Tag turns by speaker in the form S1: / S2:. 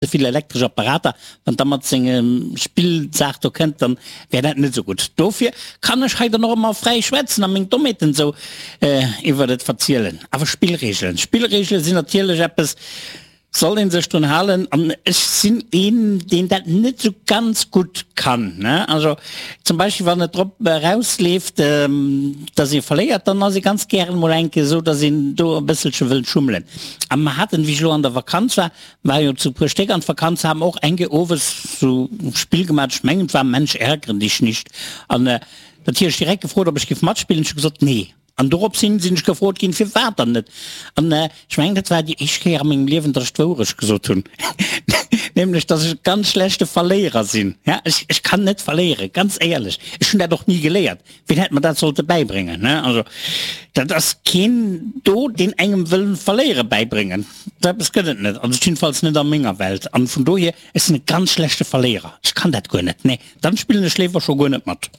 S1: Ze vill elektresch Apparater, wann da mat sengem Spillsaach do kënnt, dann wär dat net esou gutt. Dofir kann ech hei dann och ëmmer fräi schwätzen a meng Dommheeten esou iwwert et verzielen. Awer Spillreegelen, Spillreegele sinn natierlech eppes, soll ee sech drun halen an ech sinn een, deen dat net esou ganz gutt kann, ne. Also zum Beispill wann et drop erausleeft, dass ee verléiert, dann ass ee ganz gären emol eng Kéier esou, dass een do e bësselche wëllt schummelen. A mer haten, wéi ech elo an der Vakanz war, War jo zu puer Stéck an d'Vakanz, haben och eng Kéier owes sou Spill gemaat, ech mengen et war Mensch ärgere dich nicht, an natierlech direkt gefrot ob ech giff matspillen, ech hu gesot nee, an dorops hin sinn ech gefrot ginn firwat dann net, an ech mengen dat war déi éischt Kéier a mengem Liewen dass ech d'Wourecht gesot hunn, nämlech dass ech e ganz schlechte Verléierer sinn, ja ech ech kann net verléieren, ganz éierlech, ech hunn dat och ni geléiert, Wien hätt mer dat sollte bäibréngen, ne? Also, dat ass keen do, deen engem wëll Verléiere bäibréngen. Sou eppes gëtt et net, also jiddefalls net a menger Welt. An vun dohier, ech sinn e ganz schlechte Verléierer. Ech kann dat guer net, nee. Dann spillen ech léiwer scho guer net mat.